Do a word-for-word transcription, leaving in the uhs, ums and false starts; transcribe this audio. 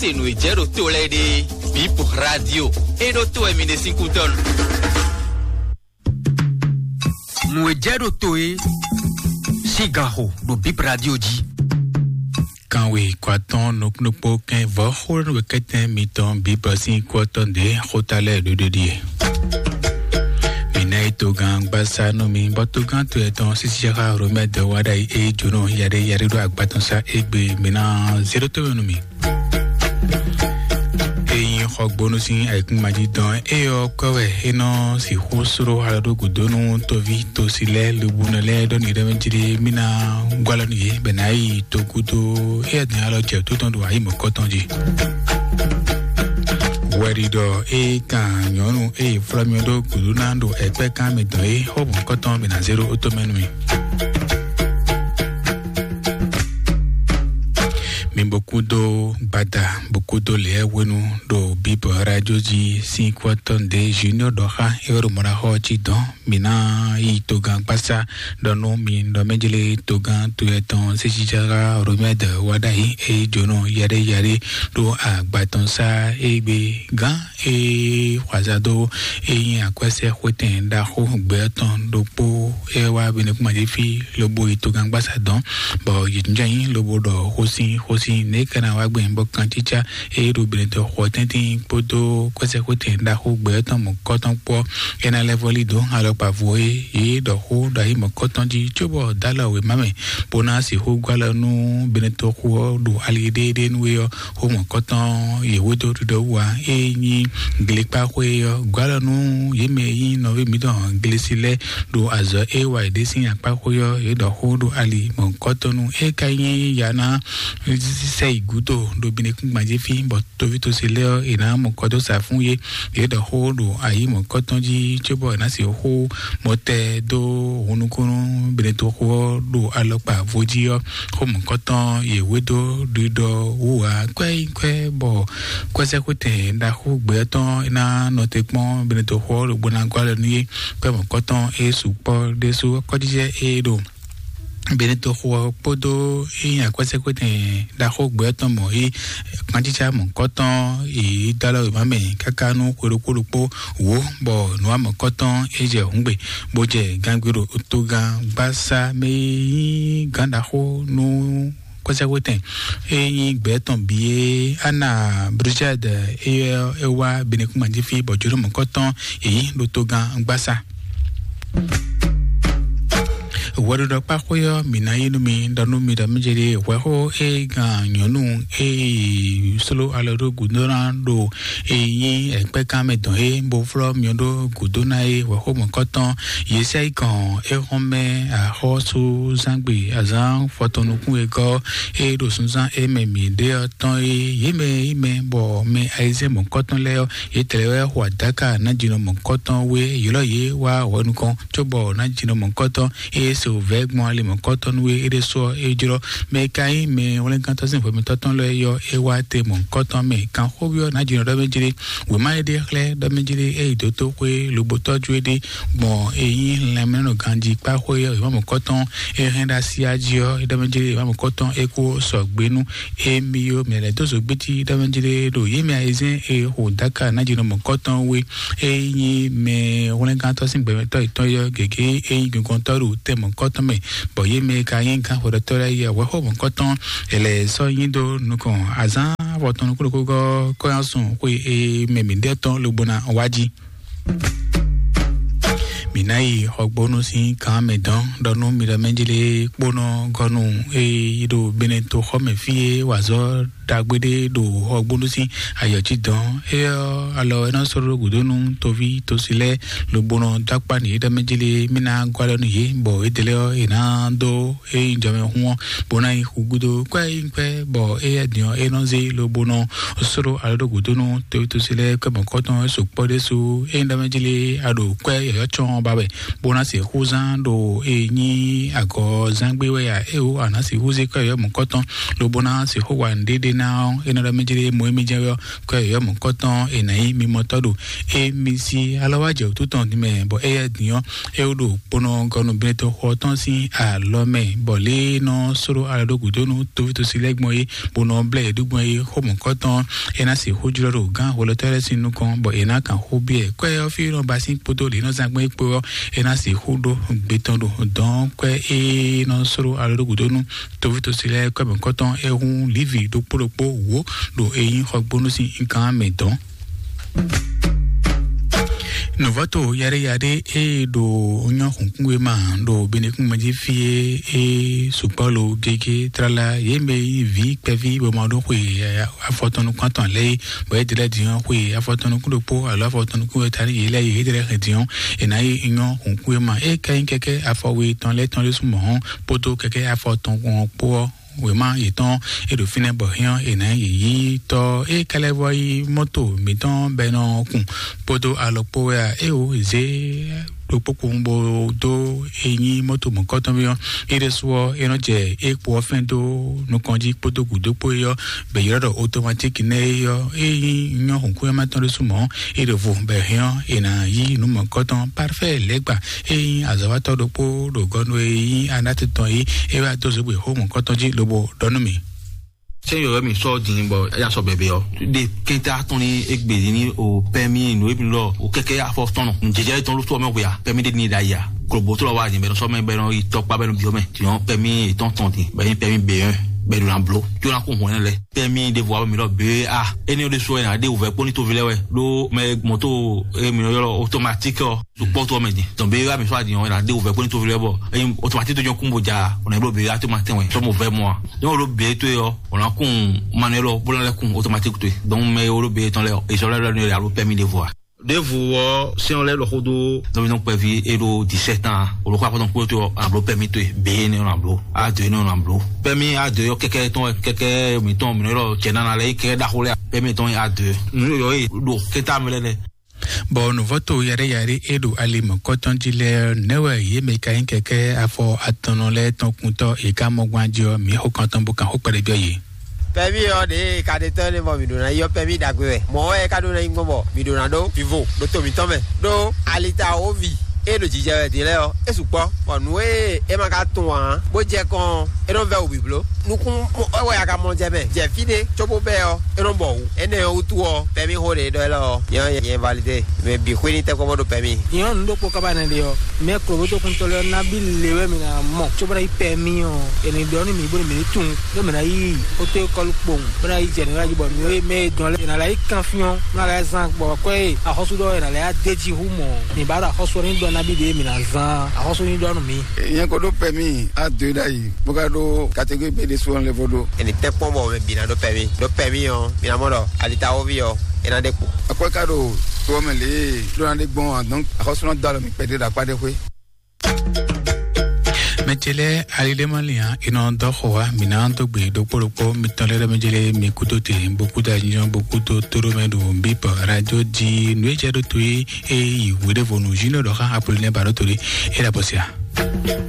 Se nǔ e jɛ ɖo to lɛ́ɛ ɖe, Bip Radio e ɖo to wɛ mi ɖe sín kútɔ́ nu. Nǔ e jɛ ɖo to e sín gan xo ɖo Bip Radio jí. Kanwe kɔ atɔn nukúnukpó kɛn vɔ̌ xó nú wekɛtɛn mitɔn Bip sín kú ɔ́ tɔn ɖě xóta lɛ́ɛ ɖó ɖe ɖíe. Mǐ ná yi togán gbásá nú mi, bɔ togán to etɔn sísí xá Romɛ dɔ wá ɖ'ayǐ é jónɔ yaɖé yaɖé ɖo agbatɔn sá égbé mǐ ná zé ɖó tó nú mi. Ényí xɔgbónú sín ayǐkúngban jí dɔn é ɔ́ kɔ wɛ é nɔ sixú sló alɔ ɖó gǔdo nú toví tosi lɛ́ɛ lobunɔ lɛ́ɛ ɖɔ nǔɖé mɛ jí ɖé mí ná gbɔ alɔ nú yě bɛ ná yi togúdo é ɔ́ dɛn alɔ jɛ tó tɔn ɖo ayǐ mɔ̌kɔtɔn jí. Wɛɖiɖɔ é kan nyɔ̌nu é yi flɔ́ mì ɖó gǔdo ná ɖo ɛkpɛ́ kan mì dɔn é xó mɔ̌kɔtɔn mì ná zé ɖó ótó mɛ nú mi. Mi bó kúdó gbada bó kúdó lɛ̌ hwenu ɖo Bíbɔ radio jí sín kú ɔ́ tɔn ɖě Junior ɖɔ xá é wɛ ɖo mɔɖaxɔ ɔ́ cí dɔn. Mi ná yi togán gbásá ɖɔ nú mi ɖɔ mɛjlé togán to yɛtɔn sésíjára Romɛd wá ɖ'ayǐ é jónɔ yaɖé yaɖé ɖo agba tɔn sá é gbe gán é xwazado é nyí akwɛ́sɛ́xwétɛn ɖaxó gbɛ̌ tɔn ɖokpó é wá Benɛkúmajífí lobo yi togán gbásá dɔn, bɔ yě jínjɔ́n ayǐ lobo ɖɔ xósin xósin nɛ̌ ka ná wá gbɛn bɔ kancícá é ɖo Benɛtɔn xɔ tɛ́ntin kpódó kwɛ́sɛ́xwétɛn ɖaxó gbɛ̌ tɔn mɔ̌kɔtɔn kpó é ná lɛ́ vɔ́lí dó alɔkpa vo é yě ɖɔ xó ɖo ayǐ mɔ̌kɔtɔn jí cóbɔ dó alɔ wěma mɛ bó ná sixú gɔ́ alɔ nú Benɛtɔn xó ɔ́ ɖo ali ɖéeɖée nú é ɔ́. Xó mɔ̌kɔtɔn yě hwedó ɖiɖɔ wú ǎ. É nyí glikpáxwé ɔ́ gɔ́ alɔ nú yě mɛ e nyí nɔví mǐtɔn Glesi lɛ́ɛ ɖo azɔ̌ e wa yě ɖe sín akpá xwé ɔ́, yě ɖɔ xó ɖo ali mɔ̌kɔtɔn nú é ka nyí ya ná sɛ yi gǔdo ɖo Benɛkúngban jí fí, bɔ toví tosi lɛ́ɛ ɔ́, è nǎ mɔ kɔ dó sa fún yé. Yě ɖɔ xó ɖo ayǐ mɔ̌kɔtɔn jí cóbɔ è nǎ se xó mɔtɛ dó hunnukúnnú Benɛtɔn xó ɔ́ ɖo alɔkpa vo jí ɔ́. Xó mɔ̌kɔtɔn yě hwedó ɖiɖɔ wú ǎ kwɛ́ nyí kwɛ́ bɔ kwɛ́sɛ́xwétɛn ɖaxó gbɛ̌ tɔn é ná nɔ te kpɔ́n Benɛtɔn xó ɔ́ ɖo bó ná gɔ́ alɔ nú yé. Kwɛ́ mɔ̌kɔtɔn é sukpɔ́ ɖésú kɔ́jijɛ é ɖo Benɛtɔn xó ɔ́ kpódó é nyí akwɛ́sɛ́xwétɛn ɖaxó gbɛ̌ tɔn mɔ̌ é kpantítsá mɔ̌kɔtɔn yě dó alɔ wěma mɛ káká nú xwe ɖokpó ɖokpó wǒ, bɔ nǔ wa mɔ̌kɔtɔn é jɛ hǔngbe, bó jɛ gangbé ɖo togán gbásá mɛ e nyí gǎn ɖaxó nú kwɛ́sɛ́xwétɛn e nyí gbɛ̌ tɔn bǐ é Ana Brigade é é wá Benɛkúngban jí fí bɔ jǒnɔ mɔ̌kɔtɔn yě nyí ɖo togán gbásá. Hwɛɖuɖɔkpáxwé ɔ́, mǐ ná yí nú mi ɖɔ nú mi ɖɔ mí jɛ ɖe hwɛxó e gan nyɔ̌nu e yi sló alɔ ɖó gǔdo ná ɖo e nyí ɛkpɛ́kan mɛ dɔn é bó flɔ́ myɔ ɖó gǔdo ná é hwɛxó mɔ̌kɔtɔn Yesayikɔn é xɔ́n mɛ axɔ́súzángbe azǎn fɔtɔn nukún e gɔ́ é ɖo sunzán é mɛ mǐ ɖe ɔ́ tɔn é yě mɛ é mɛ bɔ mɛ ayizɛ́n mɔ̌kɔtɔn lɛ́ɛ ɔ́, yě tlɛ wɛ xo adáka nájínɔ mɔ̌kɔtɔn wé ylɔ́ yě wá hwɛ nukɔn cóbɔ nájínɔ mɔ̌kɔtɔn é se wǔvɛ́ gbɔn ali mɔ̌kɔtɔn nú é é ɖésú ɔ́ é jlɔ́. Mɛ e ka nyí mɛ hwlɛ́ngántɔ́ sín hwɛmɛtɔn tɔn lɛ́ɛ yɔ é wá te mɔ̌kɔtɔn mɛ kanxóbyɔ́ nájínɔ ɖɔ mɛ jlé wěma e ɖe xlɛ́ ɖɔ mɛ jlé é yi dó tó xwé lobo tɔ́jú é ɖe gbɔn é nyí lanmɛnɔ ganjí kpá xwé ɔ́ wěma mɔ̌kɔtɔn é hɛn ɖo así jí ɔ́ é ɖɔ mɛ jlé wěma mɔ̌kɔtɔn é kó sɔgbe nú émí ɔ́ mɛ lɛ́ dó zǒgbétí ɖɔ mɛ jlé ɖo yě mɛ ayizɛ́n e xo dáka nájínɔ mɔ̌kɔtɔn wé é nyí mɛ hwlɛ́ngántɔ́ sín gbɛmɛtɔ́ yětɔn yɔ gěgé é nyí gɔngɔntɔ́ ɖo tɛn mɔ̌kɔtɔn mɛ, bɔ yě mɛ ka nyí gán xwedɔtɔ́ lɛ́ɛ yɛ hwɛxó mɔ̌kɔtɔn è lɛ́ sɔ́ nyi dó nukɔn azǎn afɔtɔn nukúnukúgɔ́ kɔ́yánsun xwe e mɛ mǐ ɖɛ tɔn lobo ná wá jí. Mǐ ná yi xɔgbónú sín kan mɛ dɔn ɖɔ nú mi ɖɔ mɛ jí lé kpónɔ gɔ́nú e yi ɖo Benɛto xɔ mɛ fí e wazɔ́ ɖagbe ɖé ɖo xɔgbónú sín ayɔ̌ cí dɔn. É ɔ́, alɔ é nɔ sɔ́ ɖó gǔdo nú toví tosi lɛ́ɛ lobo nɔ dó akpá nǔ yěɖɔ́ mɛ jí lé mí ná gɔ́ alɔ nú yě, bɔ édɛ́ lɛ́ɛ ɔ́, è nǎ dó é nyí jɔmɛ hun ɔ́, bó ná yi xu gúdo kwɛ́ é nyí kwɛ́, bɔ éyɛ́ din ɔ́, é nɔ zé lobo nɔ sló alɔ ɖó gǔdo nú toví tosi lɛ́ɛ kwɛ́ mɔ̌kɔtɔn é sukpɔ́ ɖésú. É nyí ɖɔ mɛ jí lé a ɖo kwɛ́ yɔ̌yɔ́ cɔn ba wɛ, bó ná se xú zán ɖo é nyí agɔ̌zángbé wɛ a, é wǒ a nǎ sixú zé kwɛ́ yɔ̌yɔ́ mɔ̌kɔtɔn lobo ná sixú wa nǔɖé ɖé ná ɔ́, é nɔ ɖɔ mɛ jlé mɔ émí jɛ́n ɔ́, kɔ yɔ̌yɔ́ mɔ̌kɔtɔn è nǎ nyí mimɔtɔ́ ɖo émí sí alɔ wá jɛ wǔtu tɔn ní mɛ, bɔ éyɛ́ din ɔ́, é wó ɖo kponɔ gɔnubínɛtɔ́ xɔ tɔn sín alɔ mɛ, bɔ lě nɔ sóɖó alɔ ɖó gǔdo nú tóvítósi lɛ́ɛ gbɔn é, bó nɔ blɛ́ yě ɖó gbɔn é xó mɔ̌kɔtɔn, é ná sixú jlɔ́ ɖo gán hwelɔ́tɔ́ lɛ́ɛ sín nukɔn, bɔ è nǎ kan xó byɔ́ ɛ. Kwɛ́ ɔ́ fí nɔ ba sín kpódó lě nɔ zán gbɔn é kpó ɔ́, é ná sixú ɖó gbe tɔn ɖo dɔn kwɛ́ é nɔ sóɖó alɔ ɖó gǔdo nú tóvítósi lɛ́ɛ kɔ́mɛkɔ́tɔn é hún Livi ɖokpó ɖokpó wǒ ɖo é nyí xɔgbónú sín gán mɛ dɔn. Nǔvɔ́to yaɖéyaɖé e ɖo nyɔ́ xǔnkúnwe ma ɖo Benekúnmɛ jí fí é, é sukpɔ́ lo gégé tlala yě mɛ e nyí vǐ kpɛví bɔ ma ɖó xwe afɔtɔn nukún atɔn lɛ́ɛ é, bɔ é ɖe lɛ́ɛ din ɔ́ xwe afɔtɔn nukún ɖokpó alo afɔtɔn nukún wɛ ta nú yě lɛ́ɛ é, é ɖe lɛ́ɛ hɛn din ɔ́, è nǎ yi nyɔ́ xǔnkúnwe ma. É ka nyí kɛkɛ́ afɔwe tɔn lɛ́ɛ tɔn ɖésú mɔ̌ ɔ́, kpódó kɛkɛ́ afɔtɔn kpɔ́n ɔ́ kpó ɔ́, wěma yětɔn e ɖo fínɛ́ bɔ hɛn ɔ́, è nǎ yi yí tɔ́ é ka lɛ́ vɔ yí mɔ́to mǐtɔn bɔ é nɔ kun kpódó alɔ kpó wɛ a? Éeǒ, zě ɖokpó kpowun bó dó e nyí mɔ́to mɔ̌kɔtɔn ɔ́, é ɖésú ɔ́, é nɔ jɛ é kpo ɔ́ fɛ́n dó nukɔn jí kpódó gǔdo kpó é ɔ́, bɔ è ylɔ́ ɖɔ otomatíki nɛ́ é ɔ́, é nyí nyɔ́ hǔnkúnyɔ́mátɔ́ ɖésú mɔ̌, é ɖo vo bɔ è hɛn ɔ́, è nǎ yí nǔ mɔ̌kɔtɔn parfɛ́ lɛ́ɛ gba. Ényí azɔ̌watɔ́ ɖokpó ɖo gɔ́ nú e nyí Anati tɔn é, é wá dó zǒgbé xó mɔ̌kɔtɔn jí lobo ɖɔ nú mì. Sɛ́n yɔ̌yɔ́ mì sɔ́ din bɔ é yá sɔ bɛ̌bɛ́ ɔ́, ɖe kɛnta tɔn ní égbé ní o pɛ́mí nǔ e mi lɔ o kɛkɛ afɔ tɔn nɔ. Nǔjɛjɛ tɔn ló tɔ́ mɛ hwe a? Pɛ́mí ɖé ní ɖ'ayǐ a? Klobo tó lɔ wá nyɛ bɛ́ nɔ sɔ́ mɛ bɛ́ nɔ yi tɔkpá bɛ́ nɔ byɔ́ mɛ. Tiɲɔ pɛ́mí yětɔn tɔn din, bɛ́ nyí pɛ́mí B un, bɛ́ ɖo na bló. Tó ná kó hɔn ɛnɛ lɛ́ɛ. Pɛ́mí ɖěvo wá bɛ mi lɔ B A. Énɛ́ ɔ́ ɖésú wɛ è nǎ ɖe wǔvɛ́ kpó ní toví lɛ́ɛ wɛ. Ɖó mɛ mɔ̌to e mi nɔ ylɔ́ otomatík ɔ́, ɖo kpɔ́ tó ɔ́ mɛ din. Tɔn bé wá mi sɔ́ adin ɔ́, è nǎ ɖe wǔvɛ́ kpó ní toví lɛ́ɛ bɔ ényí otomatík tó jɛ́n kún bo ja, ɔ̌ nǎ bló B A tó ma tɛn wɛ. Sɔ́ mo vɛ́ mɔ a? Ényí wo ɖó B A tó e ɔ́, ɔ̌ ná kún manuɛl ɔ́ bó ná lɛ́ kún otomatík tó e. Dɔnku mɛ e wo ɖó B A tɔn lɛ́ɛ ɔ́, è sɔ́ lɛ́ lɔ ní alo pɛ́mí ɖěvo a? Ɖěvo ɔ́, sɛ́n ɔ́ lɛ́ lɔ xó dó nɔvínɔ kpɛví e ɖo dix-sept ans, olókó afɔtɔn kúrò tó ɔ́, a bló pɛ́mí tó e, B A énɛ́ ɔ́ ná bló, A deux énɛ́ ɔ́ ná bló. Pɛ́mí A deux ɔ́ kɛkɛ tɔn wɛ, kɛkɛ mǐtɔn mǐ nɔ ylɔ́ jɛ nana lɛ́ɛ, kɛkɛ ɖaxó lɛ́ɛ, pɛ́mí tɔn nyí A deux. Nǔ yɔ̌yɔ́ e ɖo kɛ́nta mɛ lɛ́ɛ lɛ́ɛ. Bɔ nǔvɔ́to yaɖéyaɖé e ɖo ali mɔ̌kɔtɔn jí lɛ́ɛ ɔ́, nɛ̌ wɛ yě mɛ ka nyí kɛkɛ́ afɔ atɔnnɔ lɛ́ɛ tɔn kuntɔ́ è ka mɔ gbɔn jí ɔ́, mǐ xo kan tɔn bó kan xó kpɛɖé byɔ́ yě? Pɛ́mí ɔ́ ɖě e ka ɖe tɔ́ énɛ́ bɔ mǐ ɖó ná yi ɔ́, pɛ́mí ɖagbe wɛ. Mɔ̌ wɛ é ka ɖó ná nyí gbɔn bɔ mǐ ɖó ná ɖó vivo ɖó to mǐtɔn mɛ. Ɖó alitawoví e ɖo jijɛ wɛ din lɛ́ɛ ɔ́, é sukpɔ́, bɔ nǔ e é ma ka tunwun ǎ, bó jɛ kɔn ɔ́, é nɔ vɛ́ wǔ blíbló. Nukún wɛ a ka mɔ jɛ mɛ, jɛ fí ɖé cóbó bɛ́ ɔ́, é nɔ bɔ wǔ. Énɛ́ ɔ́ wútu ɔ́, pɛ́mí xó ɖě ɖɔ élɔ́ ɔ́, nyɛ ɔ́, nyɛ validé. Mɛ bǐ xwé ní tɛ́nkpɔ́n bó ɖo pɛ́mí. Nyɛ ɔ́, nǔ ɖokpó ka ba nɛ́ ɖe ɔ́, mɛ kloboto kuntɔ́ lɛ́ɛ ɔ́ ná bí le wɛ mǐ ná mɔ, cóbó ná yí pɛ́mí ɔ́, è nǐ ɖɔ nú mǐ bónú mǐ ní tunwun, ɖó mǐ ná yí xótó kɔlu kpowun, bó ná yí jɛ nǔ jí bɔ mǐ e mɛ e dɔn lɛ́ɛ, è nǎ lɛ́ yí kanfín ɔ́, ná lɛ́ zán gbɔ kɔ́ e axɔ́sú ɖɔ è nǎ lɛ́ yá d'é jí hú mɔ̌. Mǐ ba ɖo axɔ́sú ɔ́ ní ɖɔ ná bí ɖě mǐ ná zán, axɔ́sú ní ɖɔ nú mǐ. Nyɛ ko ɖó pɛ́mí A deux ɖ'ayǐ, bó ka ɖó catégorie B ɖésú ɔ́ lɛ́ vo ɖó. È nǐ tɛ́nkpɔ́n bɔ mɛ bǐ ná ɖó pɛ́mí. Ɖó pɛ́mí ɔ́, mǐ ná mɔ ɖɔ alitawoví ɔ́, é ná ɖe kpo. Akwɛ́ ka ɖo to ɔ́ mɛ lě e ɖó ná ɖe gbɔn ǎ, donc axɔ́sú ná dó alɔ mì kpɛɖé ɖo akpá ɖé xwé. Mɛ ce lɛ́ɛ, ali ɖé ma lin ǎ, è nɔ dɔ́ xo wá, mǐ ná dó gbe ɖokpó ɖokpó mitɔn lɛ́ɛ ɖɔ mɛ ce lɛ́ɛ, mi kúdó te, bó kúdó anyɔ, bó kúdó tóɖó mɛ ɖo bípɔ radio jí nǔ e jɛ ɖó to é, é yi wěɖévonu Junior ɖɔ xá Apollinaire Barotori, é ɖa bɔ sia.